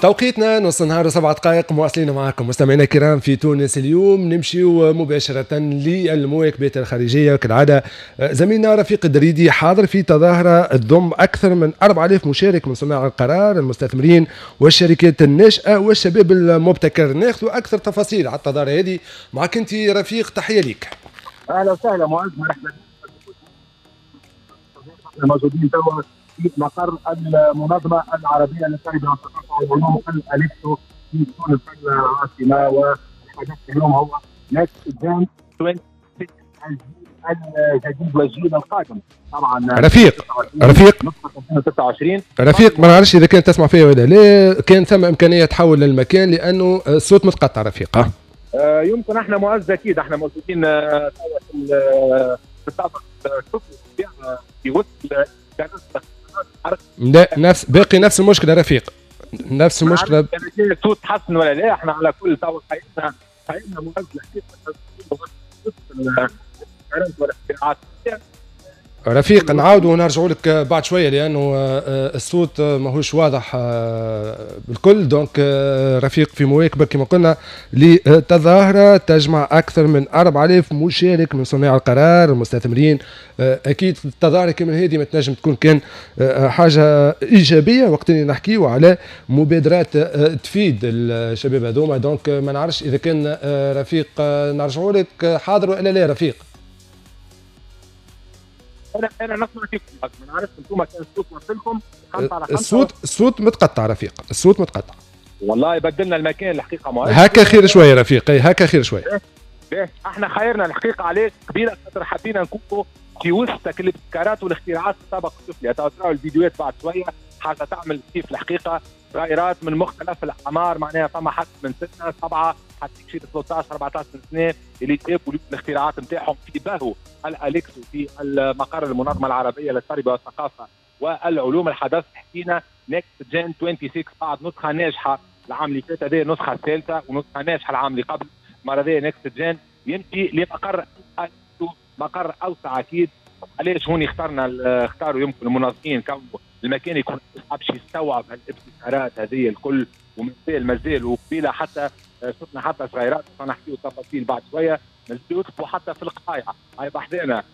توقيتنا نص نهار و7 دقائق، مواصلين معكم مستمعينا الكرام في تونس اليوم. نمشيو مباشرة للمواكبات الخارجية، وكالعادة زميلنا رفيق الدريدي حاضر في تظاهرة تضم أكثر من 4000 مشارك من صناع القرار، المستثمرين والشركات الناشئة والشباب المبتكر. ناخذ أكثر تفاصيل على التظاهرة هذه معك أنت رفيق، تحية لك. اهلا وسهلا معز، مرحبا. موجودين توا في مقر المنظمة العربية للتربية والثقافة والعلوم الاليكسو في تونس العاصمه، والحدث اليوم هو Next Gen 26، الجيل الجديد والجيل القادم طبعا. رفيق، رفيق. نسخه 2026. رفيق، ما نعرفش اذا كانت تسمع فيا ولا لا، كان ثم امكانية تحول للمكان لانه الصوت متقطع رفيق. يمكن احنا معز اكيد احنا موجودين توا في الطابق السفلي في وسط. لا، نفس باقي نفس المشكلة رفيق، نفس المشكله. كان الصوت تحسن ولا لا؟ احنا على كل توا حياتنا حياتنا معز الحقيقة. رفيق، نعاود ونرجعوا لك بعد شوية لانه الصوت ماهوش واضح بالكل. donc رفيق في مواكبة كما قلنا لتظاهره تجمع اكثر من 4000 مشارك من صناع القرار، المستثمرين. اكيد التظاهرة كما هذه ما تنجم تكون كان حاجة ايجابية وقت اللي نحكيو على مبادرات تفيد الشباب هذوما. donc ما نعرفش اذا كان رفيق نرجعوا لك، حاضر والا لا رفيق؟ انا نسمع فيكم، ما نعرفش انتم كان الصوت وصلكم. 5 على 5. الصوت متقطع رفيق، الصوت متقطع. والله بدلنا المكان الحقيقة معز. هكا خير شوية رفيق، هكا خير شويه. باهي، احنا خيرنا الحقيقة علاش قبيلة خاطر حبينا نكونوا في وسط الابتكارات والاختراعات في الطابق السفلي. تراو الفيديوهات بعد شويه، حاجة تعمل كيف الحقيقه، صغيرات من مختلف الاعمار، معناها فما حتى من 6 7 حتى شي 13 14 سنة اللي جابوا الاختراعات نتاعهم في باهو الاليكسو في المقر المنظمة العربية للتربية والثقافة والعلوم. الحدث حكينا Next Gen 26 بعد نسخه ناجحة العام اللي فات، هذه النسخة الثالثة ونسخة ناجحة العام اللي قبل. المرة هذه Next Gen يمشي لمقر مقر اوسع اكيد. علاش هوني اختاروا يمكن المنظمين كون المكان يكون باش يستوعب الابتكارات هذه الكل، ومازال مازال وقبيله حتى شفنا حتى صغيرات، نحكيو تفاصيل بعد شويه، مازالوا يكتبوا حتى في القطايع. هاي بحذانا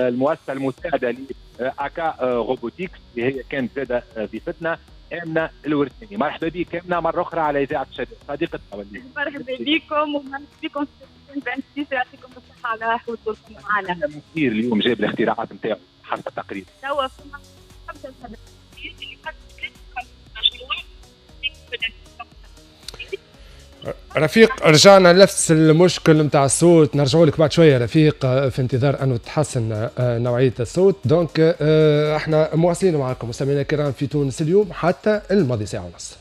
المؤسسة المساعدة لاكا Robotics اللي هي كانت زاده ضيفتنا امنه الورثاني. مرحبا بك امنه مرة اخرى على اذاعة الشباب صديقتنا. مرحبا بكم ومرحبا بكم، يعطيكم الصحة على حضوركم معنا. كثير اليوم جاب الاختراعات نتاعو حسب التقرير. توا فما 5 اللي قد مشروع. رفيق، رجعنا لنفس المشكل نتاع الصوت. نرجعوا لك بعد شوية رفيق في انتظار انه تحسن نوعية الصوت. donc احنا مواصلين معكم مستمعينا الكرام في تونس اليوم حتى الماضي ساعة ونص.